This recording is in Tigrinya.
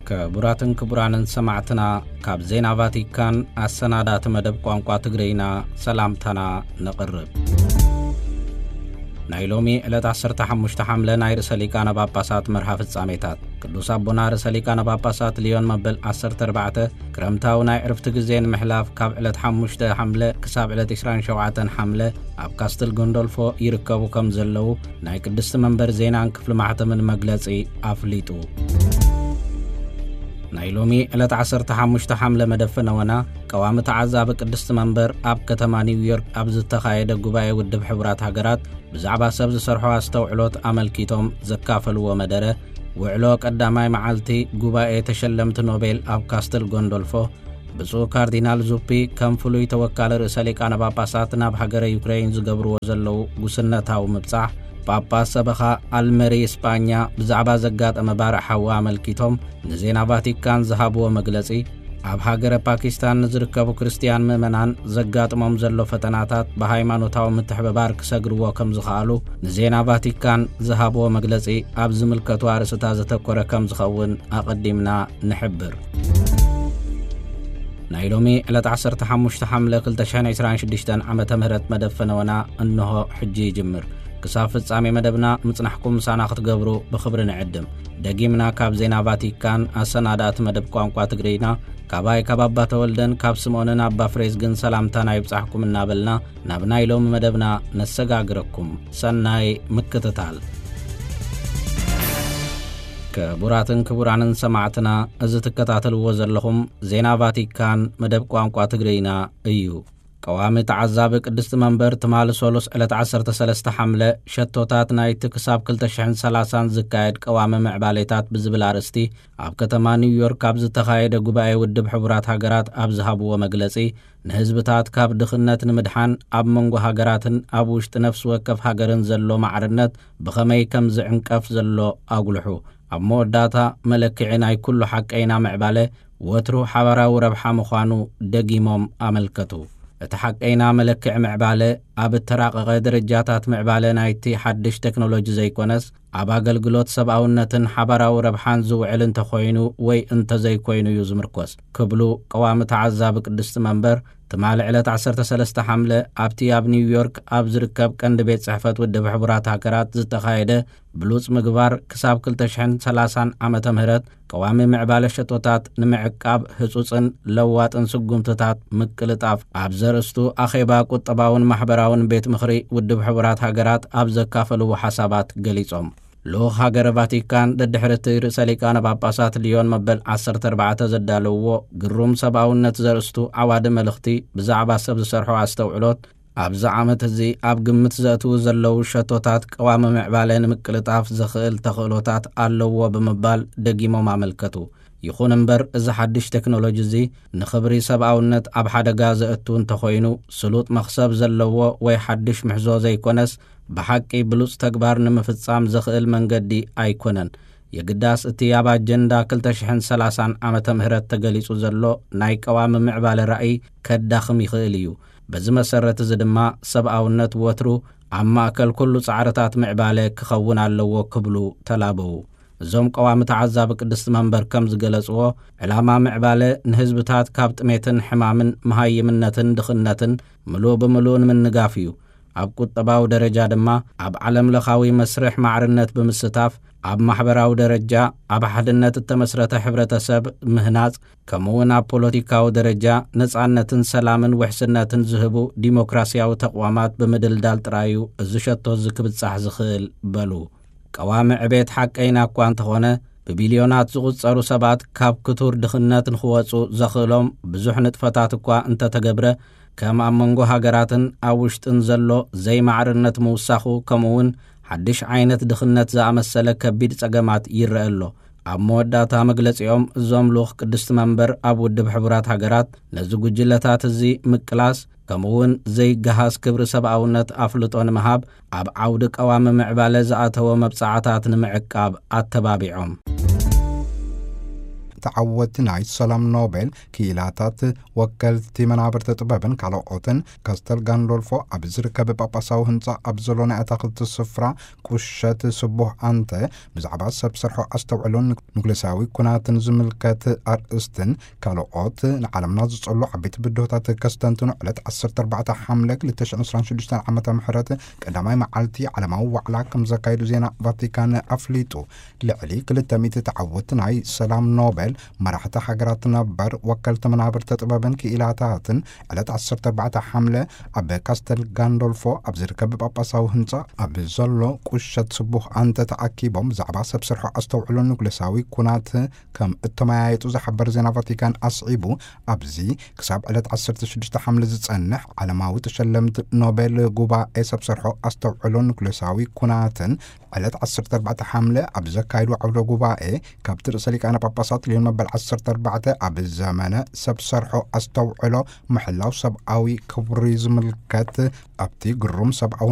ክቡራትን ክቡራንን ሰማዕትና፣ ካብ ዜና ቫቲካን ኣሰናዳእቲ መደብ ቋንቋ ትግርይና ሰላምታና ነቕርብ። ናይ ሎሚ ዕለት ዓሰርተ ሓሙሽተ ሓምለ ናይ ርእሰ ሊቃነ ጳጳሳት መርሃ ፍጻሜታት። ቅዱስ ኣቦና ርእሰ ሊቃነ ጳጳሳት ሊዮን መበል ዓሰርተ ኣርባዕተ ክረምታዊ ናይ ዕርፍቲ ግዜ ንምሕላፍ ካብ ዕለት ሓሙሽተ ሓምለ ክሳብ ዕለት ዕስራን ሸውዓተን ሓምለ ኣብ ካስትል ጎንዶልፎ ይርከቡ ከም ዘለዉ ናይ ቅድስቲ መንበር ዜናን ክፍሊ ማሕተምን መግለጺ ኣፍሊጡ። ናይ ሎሚ ዕለት ዓሰርተ ሓሙሽተ ሓምለ መደብ ፈነወና ቀዋሚ ተዓዛቢ ቅድስቲ መንበር ኣብ ከተማ ኒውዮርክ ኣብ ዝተኻየደ ጉባኤ ውድብ ሕቡራት ሃገራት ብዛዕባ ሰብ ዝሰርሖ ኣስተውዕሎት ኣመልኪቶም ዘካፈልዎ መደረ፣ ውዕሎ ቀዳማይ መዓልቲ ጉባኤ ተሸለምቲ ኖቤል ኣብ ካስትል ጎንዶልፎ፣ ብፁዕ ካርዲናል ዙፒ ከም ፍሉይ ተወካሊ ርእሰ ሊቃነ ጳጳሳት ናብ ሃገረ ዩክሬን ዝገብርዎ ዘለዉ ጉስነታዊ ምብጻሕ፣ ጳጳስ ሰበኻ ኣልመሪ ስጳኛ ብዛዕባ ዘጋጠመ ባርዕ ሓዊ ኣመልኪቶም ንዜና ቫቲካን ዝሃብዎ መግለጺ፣ ኣብ ሃገረ ፓኪስታን ንዝርከቡ ክርስትያን ምእመናን ዘጋጥሞም ዘሎ ፈተናታት ብሃይማኖታዊ ምትሕብባር ክሰግርዎ ከም ዝኸኣሉ ንዜና ቫቲካን ዝሃብዎ መግለጺ ኣብ ዝምልከቱ ኣርእስታት ዘተኮረ ከም ዝኸውን ኣቐዲምና ንሕብር። ናይ ሎሚ ዕለት ዓሰርተ ሓሙሽተ ሓምለ ክልተ ሽሕን ዕስራን ሽዱሽተን ዓመተ ምህረት መደብ ፈነወና እንሆ ሕጂ ይጅምር። ክሳብ ፍጻሜ መደብና ምጽናሕኩም ምሳና ክትገብሩ ብኽብሪ ንዕድም። ደጊምና ካብ ዜና ቫቲካን ኣሰናዳእቲ መደብ ቋንቋ ትግርይና፣ ካባይ ካብ ኣባ ተወልደን ካብ ስምኦንን ኣባ ፍሬዝግን ሰላምታና ይብጻሕኩም እናበልና ናብ ናይ ሎሚ መደብና ነሰጋግረኩም። ሰናይ ምክትታል። ክቡራትን ክቡራንን ሰማዕትና፣ እዚ ትከታተልዎ ዘለኹም ዜና ቫቲካን መደብ ቋንቋ ትግርይና እዩ። ቀዋሚ ተዓዛቢ ቅድስቲ መንበር ትማሊ ሶሉስ ዕለት ዓሰርተ ሰለስተ ሓምለ ሸቶታት ናይቲ ክሳብ ክልተ ሽሕን ሰላሳን ዝካየድ ቀዋሚ ምዕባሌታት ብዝብል ኣርእስቲ ኣብ ከተማ ኒውዮርክ ኣብ ዝተኻየደ ጉባኤ ውድብ ሕቡራት ሃገራት ኣብ ዝሃብዎ መግለጺ፣ ንህዝብታት ካብ ድኽነት ንምድሓን ኣብ መንጎ ሃገራትን ኣብ ውሽጢ ነፍሲ ወከፍ ሃገርን ዘሎ ማዕርነት ብኸመይ ከም ዝዕንቀፍ ዘሎ ኣጉልሑ። ኣብ መወዳእታ መለክዒ ናይ ኩሉ ሓቀይና ምዕባለ ወትሩ ሓባራዊ ረብሓ ምዃኑ ደጊሞም ኣመልከቱ። እቲ ሓቀይና መለክዒ ምዕባለ ኣብ እተራቐቐ ደረጃታት ምዕባለ ናይቲ ሓድሽ ቴክኖሎጂ ዘይኮነስ፣ ኣብ ኣገልግሎት ሰብኣውነትን ሓባራዊ ረብሓን ዝውዕል እንተኾይኑ ወይ እንተዘይኮይኑ እዩ ዝምርኮስ ክብሉ ቀዋሚ ተዓዛቢ ቅድስቲ መንበር ትማሊ ዕለት ዓሰርተ ሰለስተ ሓምለ ኣብቲ ኣብ ኒውዮርክ ኣብ ዝርከብ ቀንዲ ቤት ጽሕፈት ውድብ ሕቡራት ሃገራት ዝተኻየደ ብሉጽ ምግባር ክሳብ ክልተ ሽሕን ሰላሳን ዓመተ ምህረት ቀዋሚ ምዕባለ ሸቶታት ንምዕቃብ ህጹጽን ለዋጥን ስጉምትታት ምቅልጣፍ ኣብ ዘርእስቱ ኣኼባ ቁጠባውን ማሕበራውን ቤት ምኽሪ ውድብ ሕቡራት ሃገራት ኣብ ዘካፈልዎ ሓሳባት ገሊጾም። ልኡኽ ሃገረ ቫቲካን ደድሕሪ እቲ ርእሰ ሊቃነ ጳጳሳት ሊዮን መበል ዓሰርተ ኣርባዕተ ዘዳለውዎ ግሩም ሰብኣውነት ዘርእስቱ ዓዋዲ መልእኽቲ ብዛዕባ ሰብ ዝሰርሖ ኣስተውዕሎት ኣብዚ ዓመት እዚ ኣብ ግምት ዘእትዉ ዘለዉ ሸቶታት ቀዋሚ ምዕባለ ንምቅልጣፍ ዘኽእል ተኽእሎታት ኣለዎ ብምባል ደጊሞም ኣመልከቱ። ይኹን እምበር፣ እዚ ሓድሽ ቴክኖሎጂ እዚ ንኽብሪ ሰብኣውነት ኣብ ሓደጋ ዘእቱ እንተኾይኑ፣ ስሉጥ መኽሰብ ዘለዎ ወይ ሓድሽ ምሕዞ ዘይኮነስ፣ ብሓቂ ብሉጽ ተግባር ንምፍጻም ዘኽእል መንገዲ ኣይኮነን። የግዳስ፣ እቲ ኣብ ኣጀንዳ ክልተ ሽሕን ሰላሳን ዓመተ ምህረት ተገሊጹ ዘሎ ናይ ቀዋሚ ምዕባለ ራእይ ከዳኽም ይኽእል እዩ። በዚ መሰረት እዚ ድማ፣ ሰብኣውነት ወትሩ ኣብ ማእከል ኩሉ ጻዕርታት ምዕባለ ክኸውን ኣለዎ ክብሉ ተላበዉ። እዞም ቀዋሚ ተዓዛቢ ቅድስቲ መንበር ከም ዝገለጽዎ፣ ዕላማ ምዕባለ ንህዝብታት ካብ ጥሜትን ሕማምን መሃይምነትን ድኽነትን ምሉእ ብምሉእ ንምንጋፍ እዩ። ኣብ ቁጠባዊ ደረጃ ድማ ኣብ ዓለም ለኻዊ መስርሕ ማዕርነት ብምስታፍ፣ ኣብ ማሕበራዊ ደረጃ ኣብ ሓድነት እተመስረተ ሕብረተሰብ ምህናጽ፣ ከምኡውን ኣብ ፖለቲካዊ ደረጃ ነጻነትን ሰላምን ውሕስነትን ዝህቡ ዲሞክራሲያዊ ተቕዋማት ብምድልዳል ጥራይ እዩ እዚ ሸቶ እዚ ክብጻሕ ዝኽእል በሉ። ቀዋሚ ዕቤት ሓቀይና እኳ እንተኾነ፣ ብቢልዮናት ዝቑጸሩ ሰባት ካብ ክቱር ድኽነት ንኽወጹ ዘኽእሎም ብዙሕ ንጥፈታት እኳ እንተተገብረ፣ ከም ኣብ መንጎ ሃገራትን ኣብ ውሽጥን ዘሎ ዘይማዕርነት ምውሳኹ፣ ከምኡውን ሓድሽ ዓይነት ድኽነት ዝኣመሰለ ከቢድ ጸገማት ይረአ ኣሎ። ኣብ መወዳእታ መግለጺኦም፣ እዞም ልኡኽ ቅድስቲ መንበር ኣብ ውድብ ሕቡራት ሃገራት ነዚ ጉጅለታት እዚ ምቅላስ፣ ከምኡውን ዘይገሃስ ክብሪ ሰብኣውነት ኣፍልጦ ንምሃብ፣ ኣብ ዓውዲ ቀዋሚ ምዕባለ ዝኣተወ መብጻዓታት ንምዕቃብ ኣተባቢዖም። ተዓወቲ ናይ ሰላም ኖቤል ክኢላታት፣ ወከልቲ መናብርቲ ጥበብን ካልኦትን፣ ካስተል ጋንዶልፎ ኣብ ዝርከብ ጳጳሳዊ ህንጻ ኣብ ዘሎ ናይ ኣታኽልቲ ስፍራ ቁሸት ስቡህ ኣንተ ብዛዕባ ሰብ ሰርሖ ኣስተውዕሎን ኑክሌሳዊ ኩናትን ዝምልከት ኣርእስትን ካልኦት ንዓለምና ዝጸሉ ዓበይቲ ብድሆታት ከስተንትኑ ዕለት ዓሰርተ ኣርባዕተ ሓምለ ክልተ ሽሕን ዕስራን ሽዱሽተን ዓመተ ምህረት ቀዳማይ መዓልቲ ዓለማዊ ዋዕላ ከም ዘካየዱ ዜና ቫቲካን ኣፍሊጡ። ልዕሊ ክልተ ሚእቲ ተዓወቲ ናይ ሰላም ኖቤል መራሕቲ ሃገራት ነበር፣ ወከልቲ መናብርቲ ጥበብን ክኢላታትን ዕለት ዓሰርተ ኣርባዕተ ሓምለ ኣብ ካስተል ጋንዶልፎ ኣብ ዝርከብ ጳጳሳዊ ህንጻ ኣብ ዘሎ ቁሸት ስቡህ ኣንተ ተኣኪቦም ብዛዕባ ሰብ ሰርሖ ኣስተውዕሎ ኑክሌሳዊ ኩናት ከም እተመያየጡ ዝሓበር ዜና ቫቲካን ኣስዒቡ፣ ኣብዚ ክሳብ ዕለት ዓሰርተ ሽዱሽተ ሓምለ ዝጸንሕ ዓለማዊ ተሸለምቲ ኖቤል ጉባኤ ሰብ ሰርሖ ኣስተውዕሎ ኑክሌሳዊ ኩናትን ዕለት ዓሰርተ ኣርባዕተ ሓምለ ኣብ ዘካየዱ ዓውደ ጉባኤ ካብቲ ርእሰ ሊቃነ ጳጳሳት ሊዮን መበል ዓሰርተ ኣርባዕተ ኣብ ዘመነ ሰብ ሰርሖ ኣስተውዕሎ ምሕላው ሰብኣዊ ክብሪ ዝምልከት ኣብቲ ግሩም ሰብኣዊ